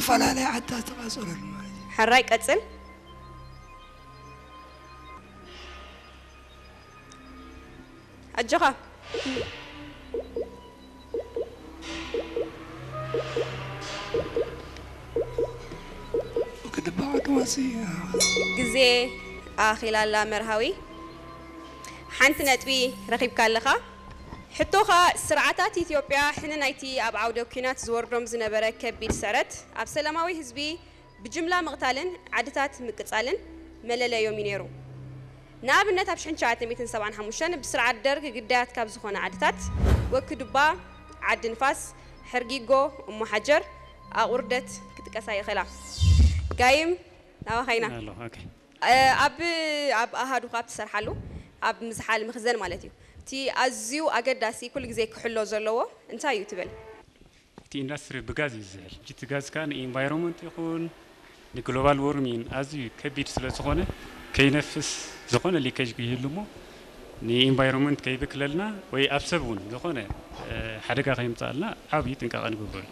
ፈላለይ ዓድታት ተቓጸለሉ ማለት እዩ። ሕራይ ቀጽል። ኣጆኻ። ክድባዕ ድማሲ ግዜ ኣኺላላ መርሃዊ። ሓንቲ ነጥቢ ረኺብካ ኣለኻ። ሕቶኻ፣ ስርዓታት ኢትዮጵያ ሕነ ናይቲ ኣብ ዓውደ ኲናት ዝወርዶም ዝነበረ ከቢድ ስዕረት ኣብ ሰላማዊ ህዝቢ ብጅምላ ምቕታልን ዓድታት ምቅጻልን መለለዮም እዩ ነይሩ። ንኣብነት ኣብ ሽሕን ትሽዓተ ሚእትን ሰብዓን ሓሙሽተን ብስርዓት ደርግ ግዳያት ካብ ዝኾነ ዓድታት ወኪ ዱባ፣ ዓዲ ንፋስ፣ ሕርጊጎ፣ እሞ ሓጀር፣ ኣቑርደት ክጥቀሳ ይኽእላ። ጋይም ናባኻ ኢና። ኣሎ ኦኬ እ፣ ኣብ ኣብ ኣሃዱ ካብ ትሰርሓሉ ኣብ ምዝሓል ምኽዘን ማለት እዩ። እቲ ኣዝዩ ኣገዳሲ ኩሉ ግዜ ክሕሎ ዘለዎ እንታይ እዩ ትብል? እቲ ኢንዳስትሪ ብጋዝ እዩ ዝዝሕል ሕጂ እቲ ጋዝ ከዓ ንኢንቫይሮንመንት ይኹን ንግሎባል ዎርሚን ኣዝዩ ከቢድ ስለ ዝኾነ ከይነፍስ ዝኾነ ሊኬጅ ይህሉ እሞ ንኢንቫይሮንመንት ከይብክለልና ወይ ኣብ ሰብ እውን ዝኾነ እ፣ ሓደጋ ከይምፃልና ዓብዪ ጥንቃቐ ንግበረሉ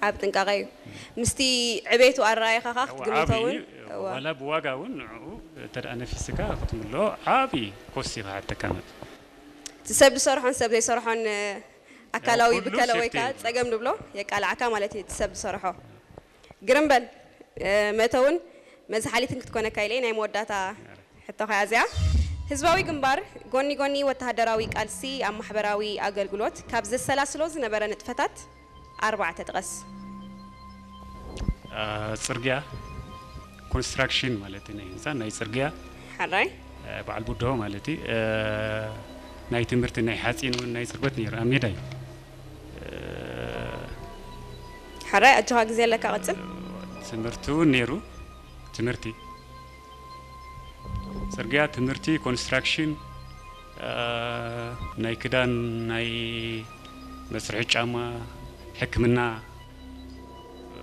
ኣብ ጥንቃቐ እዩ። ምስቲ ዕቤቱ ኣረኣይኻኻ ክትግምቶ ዓብዪ እውን እዋ። ዋላ ብዋጋ እውን ንዕኡ እንተ ደኣ ነፊስካ ክትምልኦ ዓብዪ ኮስት እዩ ክሓተካ ማለት እዩ እቲ ሰብ ዝሰርሖን ሰብ ዘይሰርሖን እ፣ ኣካላዊ ኩሉ ብከለ ወይ ሴፍቲ ከዓ እዩ። ጸገም ንብሎ የቃልዓካ ማለት እዩ። እቲ ሰብ ዝሰርሖ ግርምበል እ፣ መእተውን መዝሓሊትን ክትኮነካ ኢለ ናይ መወዳእታ ሕቶኻ እያ እዚኣ። ህዝባዊ ግንባር ጎኒ ጎኒ ወተሃደራዊ ቃልሲ ኣብ ማሕበራዊ ኣገልግሎት ካብ ዘሰላስሎ ዝነበረ ንጥፈታት ኣርባዕተ ጥቀስ። አ፣ ፅርግያ ኮንስትራክሽን ማለት እዩ ናይ ህንፃ ናይ ፅርግያ ሓራይ አ፣ በዓል ቡድሆ ማለት እዩ አ፣ ናይ ትምህርቲ ናይ ሓፂን እውን ናይ ፅርበት ነይሩ ኣብ ሜዳ እዩ አ፣ ሓራይ ኣጆኻ ግዜ ኣለካ ቀጽል። ትምህርቲ እውን ነይሩ ትምህርቲ ፅርግያ ትምህርቲ ኮንስትራክሽን አ፣ ናይ ክዳን ናይ መስርሒ ጫማ ሕክምና አ፣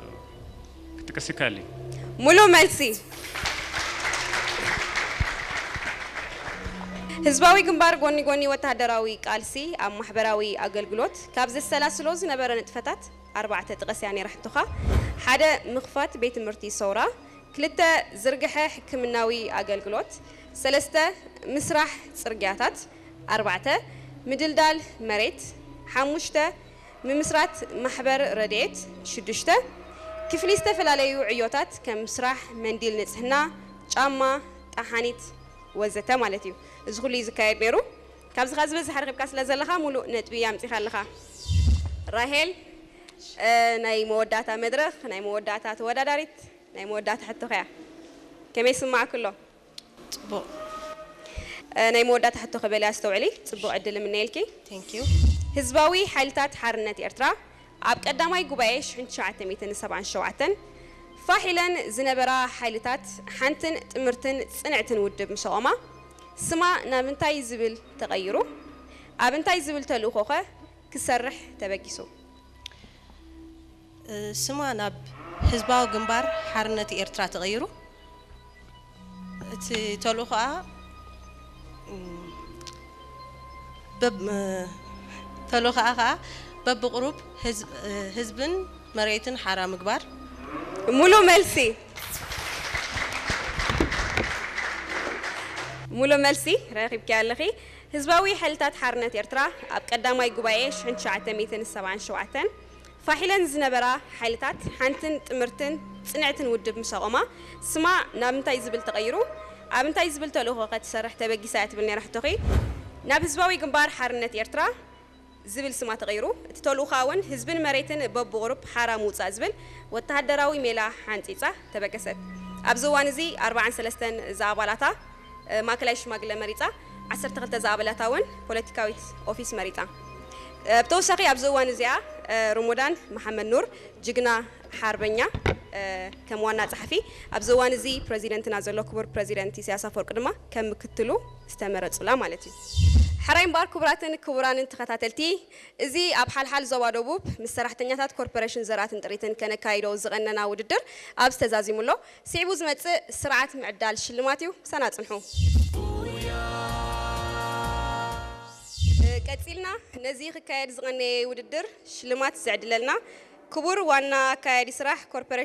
ክጥቀስ ይካል እዩ ሙሉ መልሲ። ህዝባዊ ግንባር ጎኒ ጎኒ ወተሃደራዊ ቃልሲ ኣብ ማሕበራዊ ኣገልግሎት ካብ ዘሰላስሎ ዝነበረ ንጥፈታት ኣርባዕተ ጥቀስ እያ ነይራ ሕቶኻ። ሓደ ምኽፋት ቤት ትምህርቲ ሰውራ፣ ክልተ ዝርግሐ ሕክምናዊ ኣገልግሎት፣ ሰለስተ ምስራሕ ጽርግያታት፣ ኣርባዕተ ምድልዳል መሬት፣ ሓሙሽተ ምምስራት ማሕበር ረድኤት፣ ሽዱሽተ ክፍሊ ዝተፈላለዩ ዕዮታት ከም ስራሕ፣ መንዲል ንጽህና፣ ጫማ፣ ጠሓኒት ወዘተ ማለት እዩ። እዚ ኩሉ እዩ ዝካየድ ነይሩ። ካብዚ ካ ዝበዝሕ ረኺብካ ስለ ዘለኻ ሙሉእ ነጥቢ ኣምጺኻ ኣለኻ። ራሄል እ፣ ናይ መወዳእታ መድረኽ ናይ መወዳእታ ተወዳዳሪት ናይ መወዳእታ ሕቶ ከያ ከመይ ስማዕክ ኣሎ? ጽቡቕ እ፣ ናይ መወዳእታ ሕቶ ክበል እያ ኣስተውዕሊ። ጽቡቕ ዕድል እምነየልኪ። Thank you። ህዝባዊ ሓይልታት ሓርነት ኤርትራ ኣብ ቀዳማይ ጉባኤ ሽሕን ትሽዓተ ሚእትን ሰብዓን ሸውዓተን ፋሕ ኢለን ዝነበራ ሓይልታት ሓንትን ጥምርትን ጽንዕትን ውድብ ምስ ኣቖማ ስማ ናብ እንታይ ዝብል ተቐይሩ? ኣብ እንታይ ዝብል ተልእኾኸ ክሰርሕ ተበጊሱ? ስማ ናብ ህዝባዊ ግንባር ሓርነት ኤርትራ ተቐይሩ። እቲ ተልእኾኣ በብ ተልእኾኣ ከዓ በብቕሩብ ህዝብ- ህዝብን መሬትን ሓራ ምግባር። ሙሉ መልሲ ሙሉ መልሲ ረኺብኪ ኣለኺ። ህዝባዊ ሓይልታት ሓርነት ኤርትራ ኣብ ቀዳማይ ጉባኤ ሽሕን ትሽዓተ ሚእትን ሰብዓን ሸውዓተን ፋሕ ኢለን ዝነበራ ሓይልታት ሓንትን ጥምርትን ጽንዕትን ውድብ ምስ ኣቖማ ስማ ናብ እንታይ ዝብል ተቐይሩ? ኣብ እንታይ ዝብል ተልእኾ ከ ትሰርሕ ተበጊሳ እያ ትብል ነይራ ሕቶኺ። ናብ ህዝባዊ ግንባር ሓርነት ኤርትራ ዝብል ስማ ተቐይሩ። እቲ ተልእኾኣ እውን ህዝብን መሬትን በብቑሩብ ሓራ ምውጻእ ዝብል ወተሃደራዊ ሜላ ሓንጺጻ ተበገሰት። ኣብዚ እዋን እዚ ኣርብዓን ሰለስተን ዝኣባላታ ማእከላይ ሽማግለ መሪጻ፣ ዓሰርተ ክልተ ዝኣባላታ እውን ፖለቲካዊት ኦፊስ መሪጻ። ብተወሳኺ ኣብዚ እዋን እዚኣ ሮሞዳን መሓመድ ኑር ጅግና ሓርበኛ ከም ዋና ጸሓፊ፣ ኣብዚ እዋን እዚ ፕረዚደንትና ዘሎ ክቡር ፕረዚደንት ኢሳያስ ኣፈወርቂ ድማ ከም ምክትሉ ዝተመረጹላ ማለት እዩ። ሕራይ እምበኣር ክቡራትን ክቡራንን ተኸታተልቲ፣ እዚ ኣብ ሓልሓል ዞባ ደቡብ ምስ ሰራሕተኛታት ኮርፖሬሽን ዘራትን ጥሪትን ከነካይዶ ዝቐነና ውድድር ኣብዚ ተዛዚሙ ኣሎ። ስዒቡ ዝመጽእ ስርዓት ምዕዳል ሽልማት እዩ። ምሳና ጽንሑ። ቀጺልና ነዚ ክካየድ ዝቐነየ ውድድር ሽልማት ዘዕድለልና ክቡር ዋና ኣካያዲ ስራሕ ኮርፖሬሽን